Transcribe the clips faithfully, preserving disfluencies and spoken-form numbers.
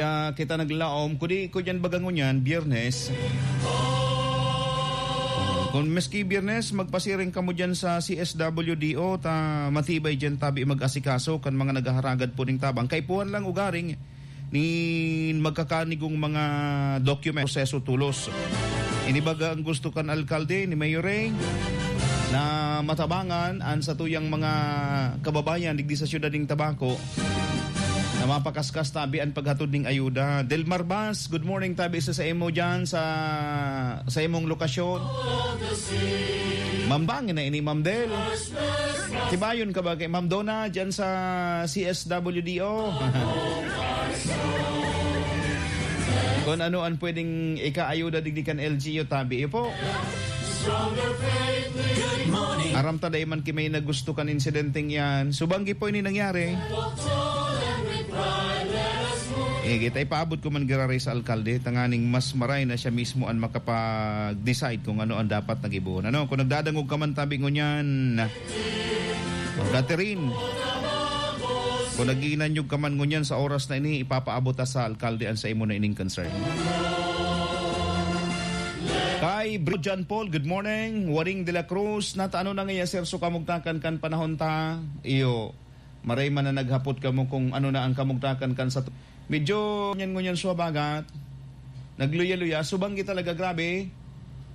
Ah, kita naglaom, kudi ko dyan baga ngunyan, Biyernes. Kung maski Biyernes, magpasiring kamo dyan sa C S W D O, ta matibay dyan tabi mag-asikaso kan mga naghaharagad po ning tabang. Kaipuhan lang ugaring nin magkakanigong mga document, proseso tulos. Ini baga ang gusto kan alkalde ni Mayor Ray, na matabangan an satuyang mga kababayan digdi sa siyudad ning Tabaco na mapakaskas tabi an paghatod ning ayuda. Delmar Bas, good morning tabi sa, sa imo dyan, sa, sa imong lokasyon. Ma'am, bangin na ini, Ma'am Del. Tibayon ka ba kay Ma'am Donna dyan sa C S W D O? Kung ano ang pwedeng ikaayuda digdi kan L G U, tabi iyo po. Good morning. Aram ta dai man ki may nagusto kan insidenteng yan. Subanggi po ini nangyari. Eh, kita ipaabot ko man giraray sa alkalde, tanganing mas maray na siya mismo ang makapag-decide kung ano ang dapat na gibohon. Ano, kung nagdadangog ka man tabi ngunyan, Catherine, kung nag-iinanyog ka man ngunyan sa oras na ini, ipapaabot ta sa alkalde ang sa imo na ining concern. Kay Bro John Paul, good morning. Waring de la Cruz, nata ano na ngaya, sir, so kamugtakan kan panahon ta? Iyo, maray man na naghapot kamo kung ano na ang kamugtakan kan sa tu-, medyo ngunyan-ngunyan sa habagat. Nagluya-luya. Subanggi talaga, grabe.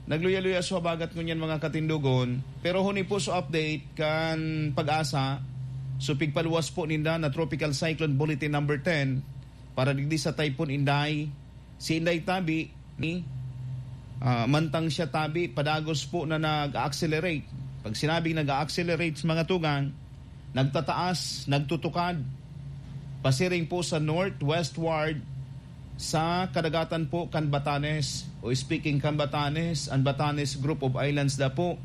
Nagluya-luya sa habagat ngunyan, mga katindogon. Pero huni po sa update kan Pag-asa, so pigpaluwas po ninda na Tropical Cyclone Bulletin number ten para digdi sa Typhoon Inday. Si Inday tabi, ni, ah, mantang siya tabi, padagos po na nag-accelerate. Pag sinabing nag-accelerate sa mga tugang, nagtataas, nagtutukad, pasiring po sa northwestward sa kadagatan po kan Batanes. O speaking kan Batanes, ang Batanes Group of Islands da po.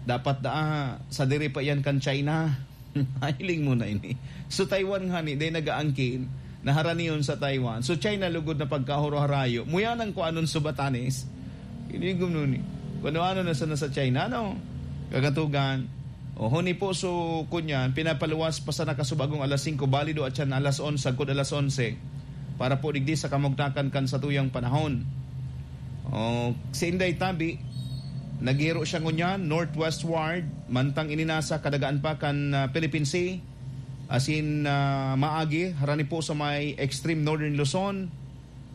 Dapat daa, sa diri pa yan kan China. Hiling mo na ini. So, Taiwan nga ni, day nag-aangkin, naharaniyon sa Taiwan. So, China lugod na pagkahuro-harayo. Muyanan ko anon sa Batanes. Inigom nun eh. Kung ano-ano na sana sa China, no? Kagatugan. O, huni po, so, kunyan, pinapaluwas pa sa nakasubagong alas singko, balido at siya na alas onse, agkod alas onse, para po digdi sa kamugtakan kan satuyang panahon. O, si Inday Tabi, naghiro siya ngunyan, northwestward, mantang ininasa, kadagaan pa kan, ah, Philippine Sea, asin, ah, maagi, harani po sa may extreme northern Luzon,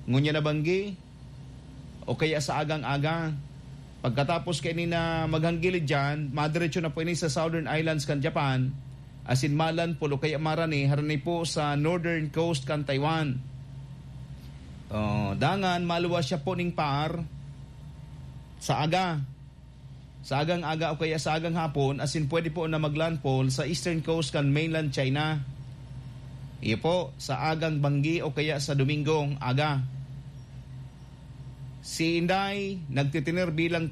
ngunyan na banggi, o kaya sa agang-aga. Pagkatapos kaini na maghanggilid dyan, madiretso na po ini sa southern islands kan Japan, asin malandfall o kaya marani, harani po sa northern coast kan Taiwan. Oh, dangan, maluwas siya po ning par sa aga. Sa agang-aga o kaya sa agang hapon, asin pwede po na maglandfall sa eastern coast kan mainland China. Iyo po, sa agang banggi o kaya sa Domingong aga. Si Inday nagtitiner bilang